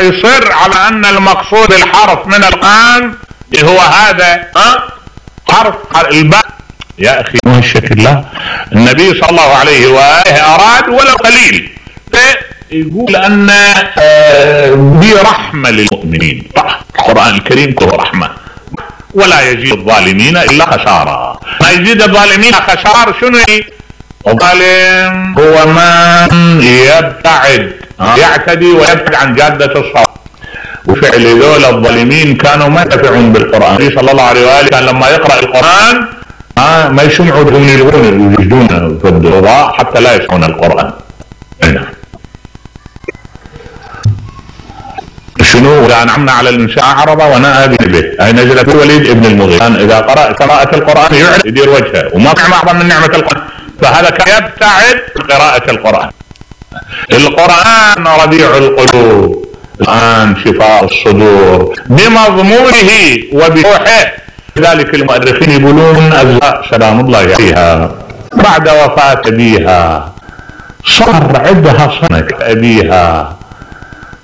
يصر على ان المقصود الحرف من القرآن هو هذا حرف الباء. يا اخي ما الشكل، لا، النبي صلى الله عليه وآله اراد ولو قليل، يقول ان دي رحمة للمؤمنين. القرآن الكريم كله رحمة، ولا يزيد الظالمين الا خسارة. ما يزيد الظالمين خسار شنو؟ الظالم هو من يبتعد، يعتدي ويبتعد عن جادة الصواب. وفعل ذول الظالمين كانوا ما ينتفعون بالقرآن. النبي صلى الله عليه وآله كان لما يقرأ القرآن ما يسمعوا يلغون يجدون في الضوضاء حتى لا يسمعون القرآن. شنو؟ إذا أنعمنا على الإنسان أعرض ونأى به، أي نزلت الوليد ابن المغيرة إذا قرأ قراءة القرآن يعرض يدير وجهه، وما في أعظم من نعمة القرآن. فهذا كان يبتعد قراءة القرآن. القرآن ربيع القلوب، القرآن شفاء الصدور بمضمونه وبروحه. لذلك المؤرخين يقولون أزهاء سلام الله عليها بعد وفاة أبيها صار عندها صدمة أبيها،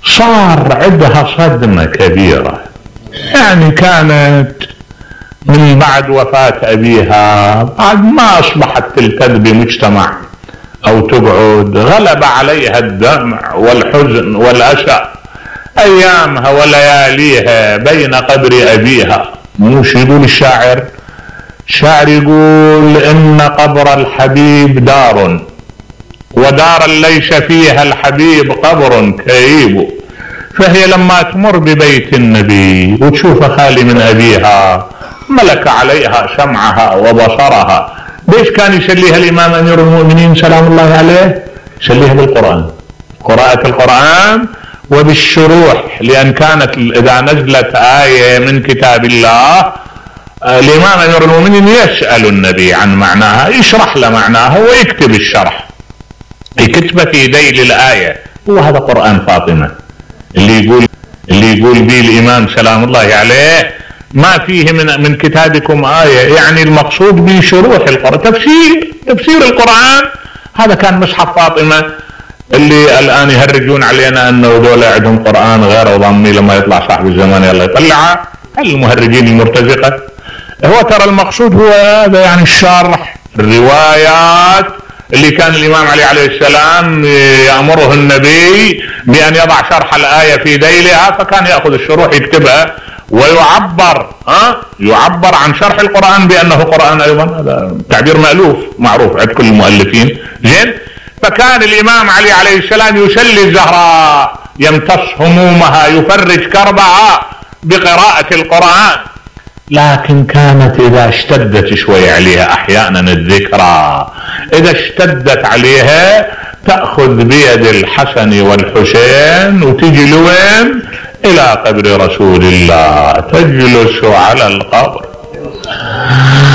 صار عندها صدمة كبيرة. يعني كانت من بعد وفاة أبيها بعد ما أصبحت تلتذ بمجتمع أو تقعد، غلب عليها الدمع والحزن والأسى أيامها ولياليها بين قبر أبيها. موش يقول الشاعر، شاعر يقول إن قبر الحبيب دار ودارا ليس فيها الحبيب قبر كئيب. فهي لما تمر ببيت النبي وتشوف خالي من أبيها ملك عليها سمعها وبصرها. ليش كان يسليها الإمام أمير المؤمنين سلام الله عليه؟ يسليها بالقرآن، قراءة القرآن وبالشروح، لأن كانت إذا نزلت آية من كتاب الله الإمام أمير المؤمنين يسأل النبي عن معناها، يشرح له معناها ويكتب الشرح، يكتب في ذيل الآية. وهذا قرآن فاطمة اللي يقول به الإمام سلام الله عليه ما فيه من كتابكم آية، يعني المقصود به شروح القرآن، تفسير القرآن. هذا كان مصحف فاطمة اللي الآن يهرجون علينا أنه دول عندهم قرآن غير ضمي، لما يطلع صاحب الزمان يلا يطلعه، المهرجين المرتزقة. هو ترى المقصود هو هذا، يعني الشرح الروايات اللي كان الإمام علي عليه السلام يأمره النبي بأن يضع شرح الآية في ذيلها، فكان يأخذ الشروح يكتبها ويعبر يعبر عن شرح القرآن بأنه قرآن أيضا. هذا تعبير مألوف معروف عند كل المؤلفين. زين، فكان الإمام علي عليه السلام يسلي الزهراء، يمتص همومها، يفرج كربها بقراءة القرآن. لكن كانت إذا اشتدت شوي عليها أحيانا الذكرى، إذا اشتدت عليها تأخذ بيد الحسن والحسين وتجي لوين؟ إلى قبر رسول الله، تجلس على القبر